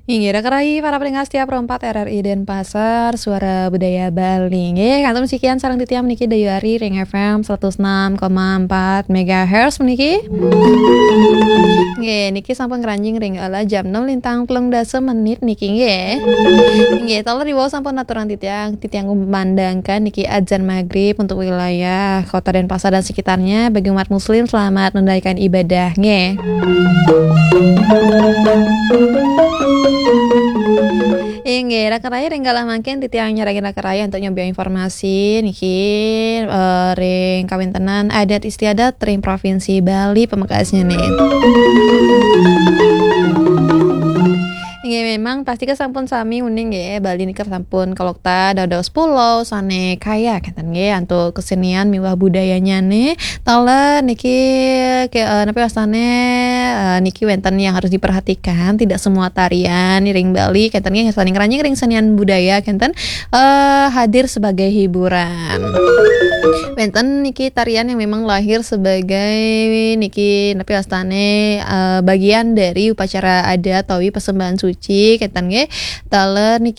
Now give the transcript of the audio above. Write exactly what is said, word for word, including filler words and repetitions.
Inggih, rak rai para pendengar setia Pro empat R R I Denpasar, Suara Budaya Bali. Nggih, kantun sekian sareng titiang meniki Dayu Ari ring F M seratus enam koma empat megahertz meniki. Nggih, niki sampun ngranjing ring ala jam enam lintang telung dasa menit niki nggih. Nggih, taler diwau sampun aturang titiang, titiang kumandangkan niki azan maghrib untuk wilayah Kota Denpasar dan sekitarnya. Bagi umat muslim, selamat menunaikan ibadah nggih. Inggih, rak rai ring galah mangkin titiang nyarengin rak rai untuk nyobi informasi niki, eh, ring kawéntenan adat istiadat ring Provinsi Bali pamekasnya nih. Inggih, memang pasti sampun sami uning nggih, Bali nika sampun kalokta dados pulo sané kaya kénten nggih antuk kesenian miwah budayanya nih. Taler niki ke, eh, napi wastane, eh, niki wénten yang harus diperhatikan, tidak semua tarian ring Bali kénten nggih sané ngranjing ring senian budaya kénten, eh, hadir sebagai hiburan. Wénten niki tarian yang memang lahir sebagai niki napi wastane, eh, bagian dari upacara adat utawi persembahan suci kénten nggih. Taler niki